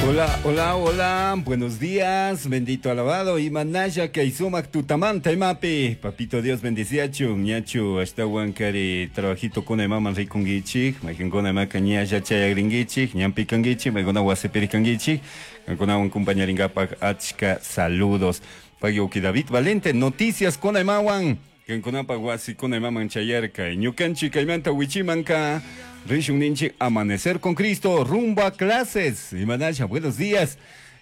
Hola, hola, hola, buenos días, bendito alabado, imanaya kay sumak tutamanta imapi, papito Dios bendiciachu, ñachu, ashtawan kari trabajito kuna imaman rikungichik, mayqinkuna imaka ñalla chayagringichik, ñampi kangichik, maykuna wasipiri kangichik, kankunawan compañarinkapak achka saludos. Pagyoki David Valente, noticias kuna imawan, kankunapak wasi kuna imaman chayarka, ñukanchik kaymanta wichimanka, Rishun ninchik Amanecer con Cristo, rumbo a clases. Imanaya, buenos días.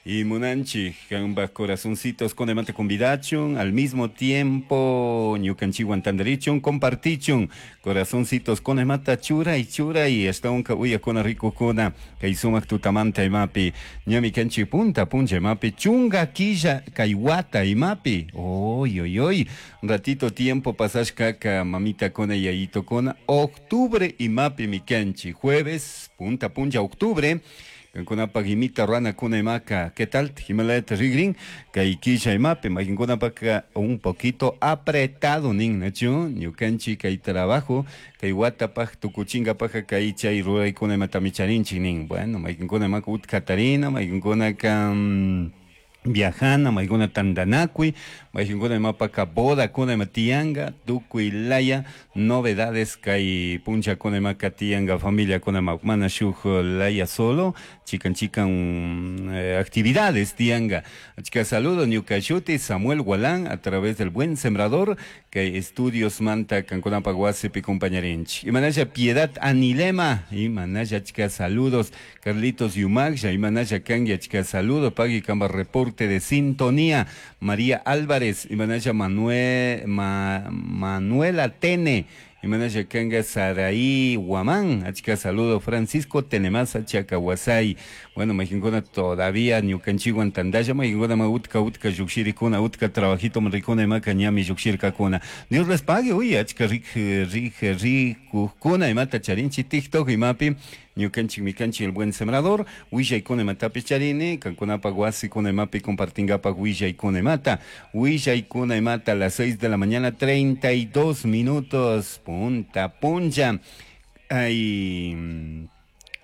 Y munanchik, kanba corazoncitos con emante convidachun, al mismo tiempo, ñukanchiwan tandarichun, compartichun, corazoncitos con emata chura y chura y hasta un uya con rico kona, kay sumak tutamanta imapi, ñami kanchi punta puncha imapi, chunga quilla kaiwata imapi, oy oy oy, ratito tiempo pasashkaka mamita kona yayito kona, octubre imapi mi kanchi, jueves, punta puncha octubre, Kankunapak imita rana kuna imaka, ¿qué tal? Himalaya rigrin, kay kisha imapi, makinkunapak un poquito apretado nin, nachu, ñukanchi kay trabajo, kay watapak tukuchingapak kay chay ruraykuna imatami charinchik nin, bueno, maykinkuna imaka utkatarina, maykinkunaka viajana, maykuna tandanakuy, maykinkuna imapaka boda kuna ima tiyanga, tukuy laya, novedades kay puncha kuna imaka tiyanga, familia kuna ima mana shuk laya solo, chikan chikan actividades tiyanga. Achka saludo ñuka shuti Samuel Gualán a través del Buen Sembrador, kay estudios manta kankunapak wasipi compañarinchik. Imanaya Piedad Anilema, imanaya achka saludos, Carlitos Yumagsha, imanaya kangi achka saludo, pagui kamba reporte de sintonía, María Álvarez, imanaya Manuela Tene, imanaya kanga Saraí Guamán, achka saludo, Francisco Tenemasa Chacahuasay, bueno, majinkuna todavía ñukanchiwan tandalla, majinkuna ma utka utka llukshirikuna, utka trabajito rikuna imaka ñami llukshirkakuna. Dios les pague, uy, achka rik, rik, rikukuna imata charinchi TikTok imapi, ñukanchik mikanchik el buen sembrador, willaykuna imatapi charini, kankunapak wasikuna imapi compartingapak willaykuna imata, willaykuna imata a las 6 de la mañana, 32 minutos, punta puncha, ay,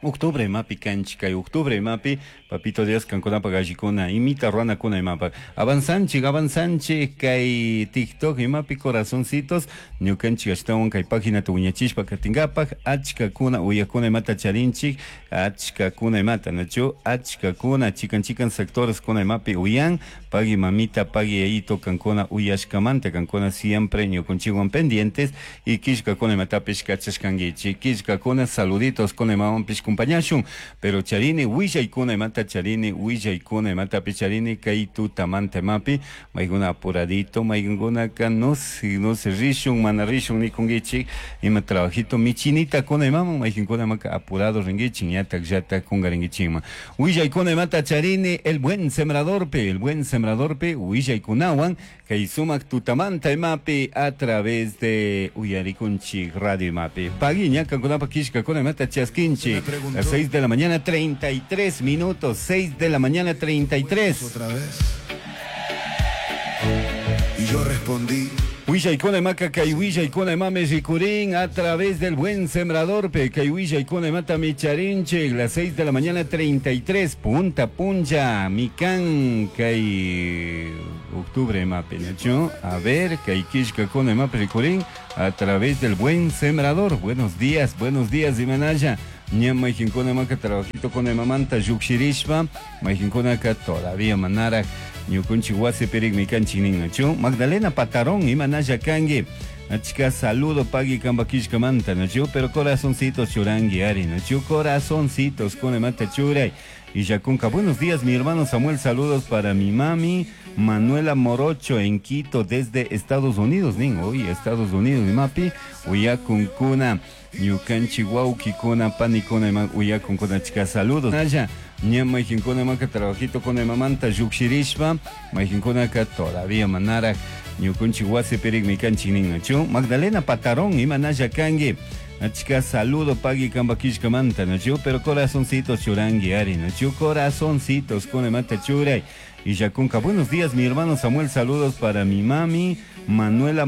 octubre imapi kanchik, kay octubre imapi, papito Dios kankunapak allikuna, imita ruanakuna imapak, avanzanchik, avanzanchik, kay TikTok imapi corazoncitos, ñukanchik ashtawan kay página wiñachishpa katingapak, achkakuna uyakuna imata charinchik, achkakuna imata, nachu, achkakuna, chikan chikan sectores kuna imapi uyan, pagui mamita, pagui yayito kankuna uyashkamanta, kankuna siempre ñukunchikwan pendientes, y kishkakuna imatapish kachashkankichik, kishkakuna saluditos kuna imawanpish kumpañashun, pero charini willaykuna imata charini, willaykuna imatapi charini, kay tutamanta imapi, maykuna apuradito, maykunaka no se, no se rishun, mana rishun nikunkichik, ima trabajito michinita kuna imaman, maykinkuna imaka apurado rinkichik, ñatak llatak kungarinkichikman. Willaykuna imata charini, el buen sembradorpe, el buen sembradorpe, willaykunawan, kay sumak tutamanta imapi, a través de Uyarikunchik Radio imapi. Pagui ña kankunapa kishkakuna imata chaskinchik. Las 6 de la mañana, 33 minutos, 6 de la mañana, 33. Otra vez. Y yo respondí. Willaykuna imaka kay willaykuna imame rikurin a través del buen sembrador pe kay willaykuna imata micharinchik, las 6 de la mañana 33, punta puncha, mikan kay octubre imapi, ¿no? A ver, kay kishkakuna imapi rikurin a través del buen sembrador. Buenos días, buenos días, imanaya. Ña maykinkuna imaka trabajito con imamanta llukshirishpa, maykinkunaka todavía manaraj ñukunchik wasipirik mikanchik nin, nachu. Magdalena Patarón, imanaya kangi. Achka saludo pagui kamba kishkamanta, nachu, pero corazoncitos churangi ari, nachu, corazoncitos con imata churay. Y Yacunca, buenos días mi hermano Samuel, saludos para mi mami Manuela Morocho en Quito desde Estados Unidos, nin, uy, Estados Unidos, mi mapi, uyakunkuna, ñukanchi wawkikuna, panikuna, ima, uyakunkuna, chica, saludos. Naya, ña maykinkuna imaka trabajito con imamanta llukshirishpa, maykinkunaka todavía manaraj ñukunchik wasipirik mikanchik nin, nachu. Magdalena Patarón, imanaya kangi. Achka saludo pagui kamba kishkamanta, nachu, pero corazoncitos churangi ari, nachu, corazoncitos con imata churay. Y Yacunca, buenos días mi hermano Samuel, saludos para mi mami Manuela